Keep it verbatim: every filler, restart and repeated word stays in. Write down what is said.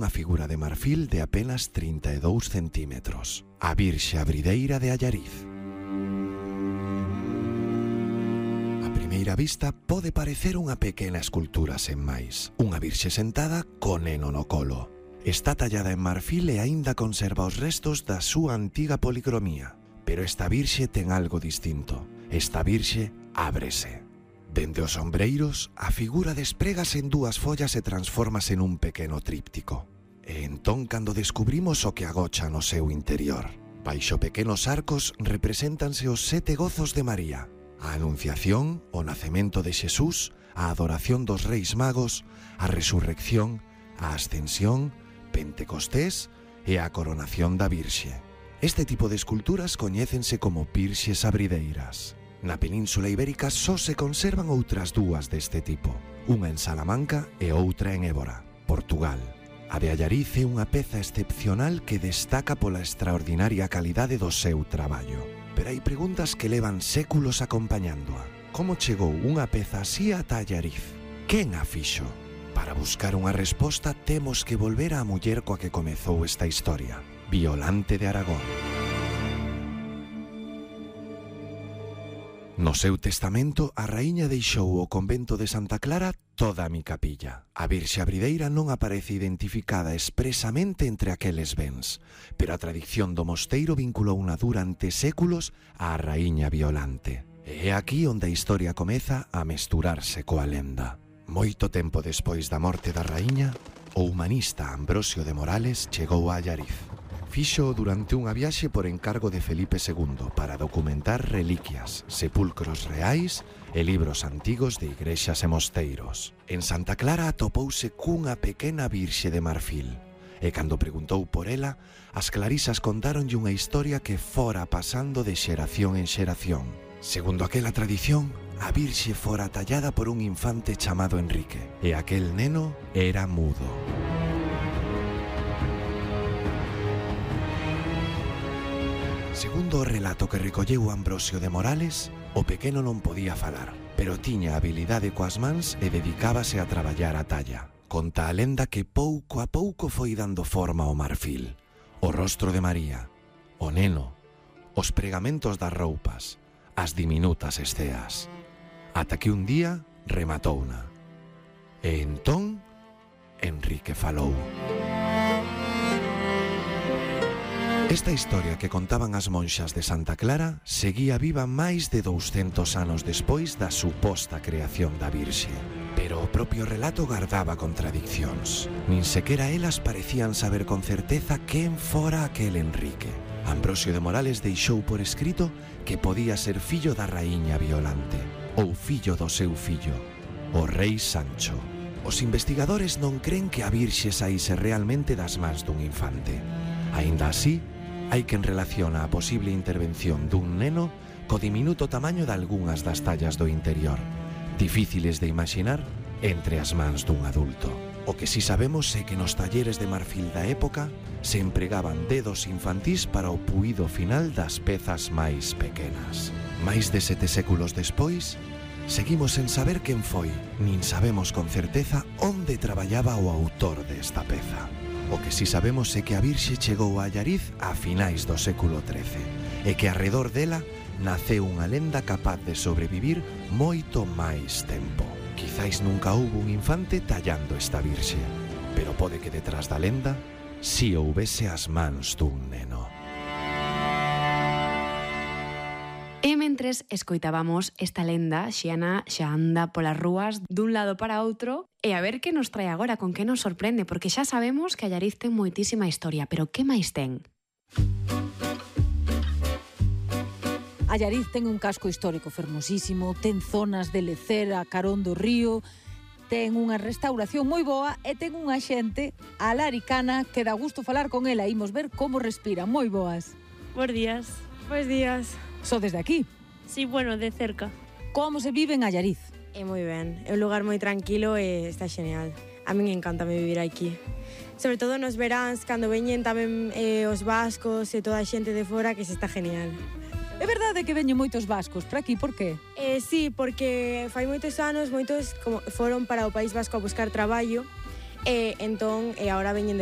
unha figura de marfil de apenas trinta e dous centímetros, a Virxe Abrideira de Allariz. A primeira vista pode parecer unha pequena escultura sen máis, unha virxe sentada co neno no colo. Está tallada en marfil e aínda conserva os restos da súa antiga policromía. Pero esta virxe ten algo distinto. Esta virxe ábrese. Dende os ombreiros, a figura desprégase en dúas follas e transfórmase nun pequeno tríptico. E entón, cando descubrimos o que agocha no seu interior, baixo pequenos arcos represéntanse os sete gozos de María, a Anunciación, o nacemento de Xesús, a adoración dos Reis Magos, a resurrección, a ascensión, Pentecostés e a coronación da Virxe. Este tipo de esculturas coñécense como virxes abrideiras. Na Península Ibérica só se conservan outras dúas deste tipo, unha en Salamanca e outra en Évora, Portugal. A de Allariz é unha peza excepcional que destaca pola extraordinaria calidade do seu traballo. Pero hai preguntas que levan séculos acompañándoa. Como chegou unha peza así ata Allariz? Quen a fixo? Para buscar unha resposta temos que volver á muller coa que comezou esta historia, Violante de Aragón. No seu testamento, a raíña deixou o convento de Santa Clara toda a mi capilla. A Virxe Abrideira non aparece identificada expresamente entre aqueles bens, pero a tradición do mosteiro vinculouna durante séculos á raíña Violante. E é aquí onde a historia comeza a mesturarse coa lenda. Moito tempo despois da morte da raíña, o humanista Ambrosio de Morales chegou a Allariz. Fixo durante unha viaxe por encargo de Felipe segundo para documentar reliquias, sepulcros reais e libros antigos de igrexas e mosteiros. En Santa Clara atopouse cunha pequena virxe de marfil, e cando preguntou por ela, as clarisas contáronlle unha historia que fora pasando de xeración en xeración. Segundo aquela tradición, a virxe fora tallada por un infante chamado Enrique, e aquel neno era mudo. Segundo o relato que recolleu Ambrosio de Morales, o pequeno non podía falar, pero tiña habilidade coas mans e dedicábase a traballar a talla. Conta a lenda que pouco a pouco foi dando forma ao marfil, o rostro de María, o neno, os pregamentos das roupas, as diminutas esteas, ata que un día rematouna. E entón, Enrique falou. Esta historia que contaban as monxas de Santa Clara seguía viva máis de douscentos anos despois da suposta creación da Virxe. Pero o propio relato gardaba contradiccións. Nin sequera elas parecían saber con certeza quen fora aquel Enrique. Ambrosio de Morales deixou por escrito que podía ser fillo da raíña Violante, ou fillo do seu fillo, o rei Sancho. Os investigadores non cren que a Virxe saíse realmente das mans dun infante. Aínda así, hai quen relaciona a posible intervención dun neno co diminuto tamaño de algunhas das tallas do interior, difíciles de imaginar entre as mans dun adulto. O que si sabemos é que nos talleres de marfil da época se empregaban dedos infantís para o puído final das pezas máis pequenas. Mais de sete séculos despois, seguimos sen saber quen foi, nin sabemos con certeza onde traballaba o autor desta peza. O que si sabemos é que a Virxe chegou a Allariz a finais do século trece e que arredor dela naceu unha lenda capaz de sobrevivir moito máis tempo. Quizais nunca houbo un infante tallando esta Virxe, pero pode que detrás da lenda si houbese as mans dun neno. E mentres escoitábamos esta lenda, Xiana xa anda polas rúas dun lado para outro, e a ver que nos trae agora, con que nos sorprende, porque xa sabemos que Allariz ten moitísima historia, pero que máis ten? Allariz ten un casco histórico fermosísimo, ten zonas de lecer a carón do río, ten unha restauración moi boa e ten unha xente alaricana que dá gusto falar con ela. Imos ver como respira. Moi boas. Bos días. Bos días. Só desde aquí? Sí, bueno, de cerca. Como se vive en Allariz? É moi ben, é un lugar moi tranquilo e está xeneal. A min encantame vivir aquí. Sobre todo nos veráns, cando veñen tamén eh, os vascos e toda a xente de fora, que se está genial. É verdade que veñen moitos vascos para aquí, por qué? Eh, sí, porque fai moitos anos, moitos como foron para o País Vasco a buscar traballo, e entón, e agora veñen de